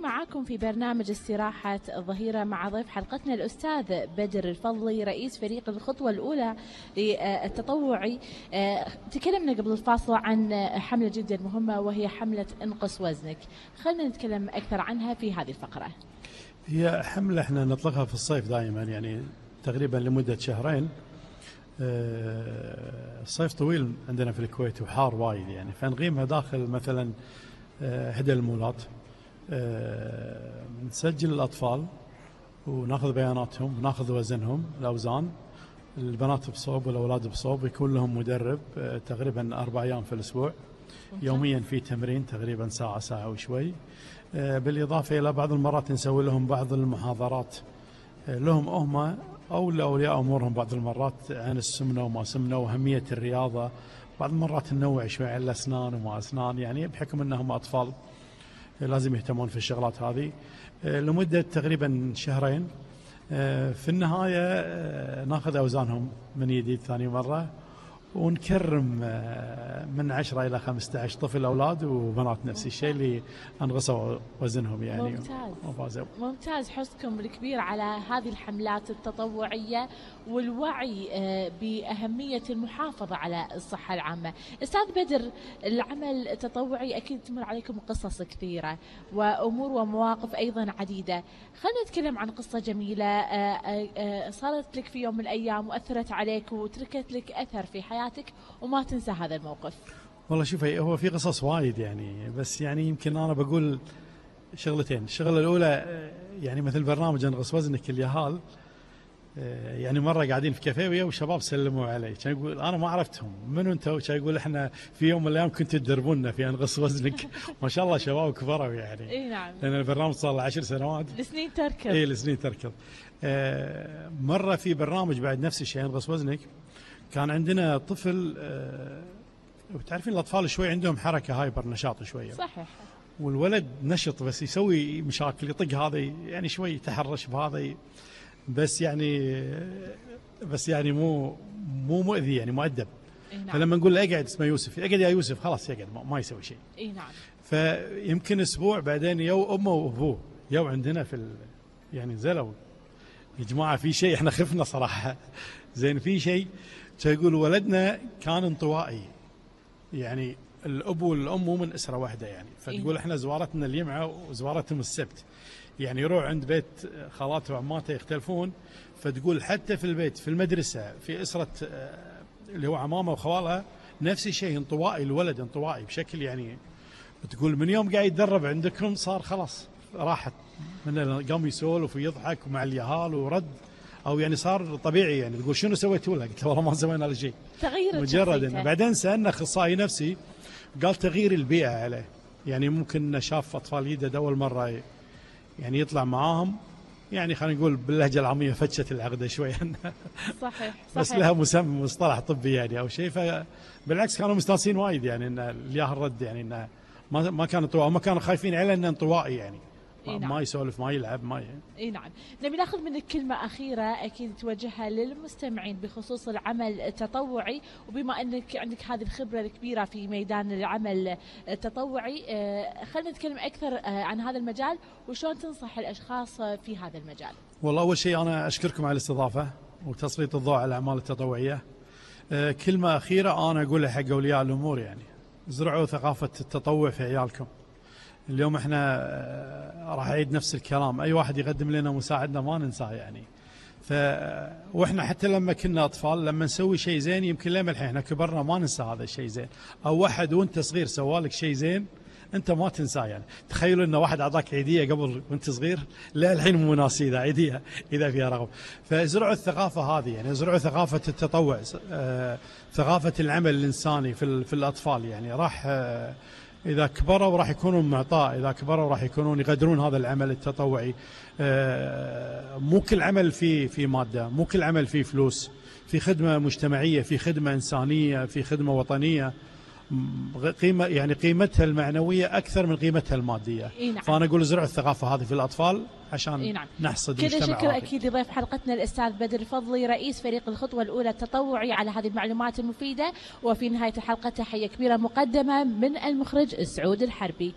مستمرين معاكم في برنامج استراحة الظهيرة مع ضيف حلقتنا الأستاذ بدر الفضلي رئيس فريق الخطوة الأولى للتطوعي. تكلمنا قبل الفاصل عن حملة جدا مهمة وهي حملة انقص وزنك. خلينا نتكلم أكثر عنها في هذه الفقرة. هي حملة احنا نطلقها في الصيف دائما، يعني تقريبا لمدة شهرين. الصيف طويل عندنا في الكويت وحار وايد، يعني فنقيمها داخل مثلا إحدى المولات. نسجل الأطفال وناخذ بياناتهم وناخذ وزنهم، الأوزان، البنات بصوب والأولاد بصوب، يكون لهم مدرب تقريبا 4 أيام في الأسبوع. يوميا في تمرين تقريبا ساعة وشوي، بالإضافة إلى بعض المرات نسوي لهم بعض المحاضرات لهم هم أو لأولياء أمورهم، بعض المرات عن السمنة وما سمنة وأهمية الرياضة. بعض المرات ننوع شوي على الأسنان وما أسنان، يعني بحكم أنهم أطفال لازم يهتمون في الشغلات هذه لمدة تقريبا شهرين. في النهاية ناخذ أوزانهم من جديد ثاني مرة، ونكرم من 10 إلى 15 طفل أولاد وبنات نفس الشيء اللي أنقصوا وزنهم يعني. ممتاز حرصكم الكبير على هذه الحملات التطوعية والوعي بأهمية المحافظة على الصحة العامة. أستاذ بدر، العمل التطوعي أكيد تمر عليكم قصص كثيرة وأمور ومواقف أيضا عديدة. خلينا نتكلم عن قصة جميلة صارت لك في يوم من الأيام وأثرت عليك وتركت لك أثر في حياتك وما تنسى هذا الموقف. والله شوفي، هو في قصص وايد يعني، بس يعني يمكن أنا بقول شغلتين. الشغلة الأولى يعني مثل برنامج انقص وزنك اليهال، يعني مرة قاعدين في كافيه ويا وشباب سلموا علي، كان يقول أنا ما عرفتهم منو أنتوا، كان يقول إحنا في يوم من الأيام كنتوا تدربونا في انقص وزنك. ما شاء الله شباب كبروا يعني. إيه نعم. لأن البرنامج صار له 10 سنوات. السنين تركض. إيه السنين تركض. مرة في برنامج بعد نفس الشيء انقص وزنك، كان عندنا طفل وتعرفين الأطفال شوي عندهم حركة هايبر، نشاط شوية. صحيح. والولد نشط بس يسوي مشاكل، يطق هذا يعني شوي يتحرش بهذا، بس يعني مو مؤذي، يعني مؤدب. نعم. فلما نقول له اقعد، اسمه يوسف، اقعد يا يوسف، خلاص يقعد ما يسوي شيء. اي نعم. فيمكن اسبوع بعدين يو امه وابوه يو عندنا يعني نزلوا يا جماعه في شيء، احنا خفنا صراحه. زين في شيء، يقول ولدنا كان انطوائي، يعني الاب والام مو من اسره واحده يعني. فتقول احنا زوارتنا الجمعه وزوارتهم السبت، يعني يروح عند بيت خالاته وعماته يختلفون. فتقول حتى في البيت، في المدرسه، في اسره اللي هو عمامه وخوالها نفس الشيء، انطوائي الولد، انطوائي بشكل يعني. تقول من يوم قاعد يتدرب عندكم صار خلاص راحت من قام يسولف ويضحك مع اليهال ورد، او يعني صار طبيعي يعني. تقول شنو سويتوا له؟ قلت والله ما سوينا له شيء، تغير مجرد انه بعدين سالنا اخصائي نفسي قال تغيير البيئه عليه، يعني ممكن شاف اطفال جدد اول مره يعني يطلع معاهم، يعني خلينا نقول باللهجه العاميه فتشت العقده شوي. صحيح. بس لها مسمى مصطلح طبي يعني او شيء. فبالعكس كانوا مستانسين وايد يعني ان الياه الرد، يعني انه ما كانوا انطوائي، ما كانوا خايفين عليه انه انطوائي يعني. نعم. ما يسولف، ما يلعب، ما اي نعم. نبي ناخذ منك كلمه اخيره اكيد توجهها للمستمعين بخصوص العمل التطوعي، وبما انك عندك هذه الخبره الكبيره في ميدان العمل التطوعي، خلينا نتكلم اكثر عن هذا المجال وشلون تنصح الاشخاص في هذا المجال. والله اول شيء انا اشكركم على الاستضافه وتسليط الضوء على الاعمال التطوعيه. كلمه اخيره انا اقولها حق اولياء الامور، يعني زرعوا ثقافه التطوع في عيالكم. اليوم احنا راح اعيد نفس الكلام، اي واحد يقدم لنا مساعدنا ما ننساه يعني. واحنا حتى لما كنا اطفال لما نسوي شيء زين، يمكن لما الحين احنا كبرنا ما ننسى هذا الشيء زين، او واحد وانت صغير سوالك شيء زين انت ما تنساه يعني. تخيلوا ان واحد اعطاك عيديه قبل وانت صغير، لا الحين مو ناسي اذا عيديه اذا فيها رغبه. فازرعوا الثقافه هذه، يعني ازرعوا ثقافه التطوع، ثقافه العمل الانساني في الاطفال، يعني راح إذا كبروا راح يكونون معطاء، إذا كبروا راح يكونون يقدرون هذا العمل التطوعي. مو كل عمل في مادة، مو كل عمل فيه فلوس، في خدمة مجتمعية، في خدمة إنسانية، في خدمة وطنية، قيمة يعني قيمتها المعنوية أكثر من قيمتها المادية. نعم. فأنا أقول زرعوا الثقافة هذه في الأطفال عشان نعم. نحصد مجتمع. كذا شكر أكيد لضيف حلقتنا الأستاذ بدر الفضلي رئيس فريق الخطوة الأولى التطوعي على هذه المعلومات المفيدة. وفي نهاية الحلقة تحية كبيرة مقدمة من المخرج سعود الحربي.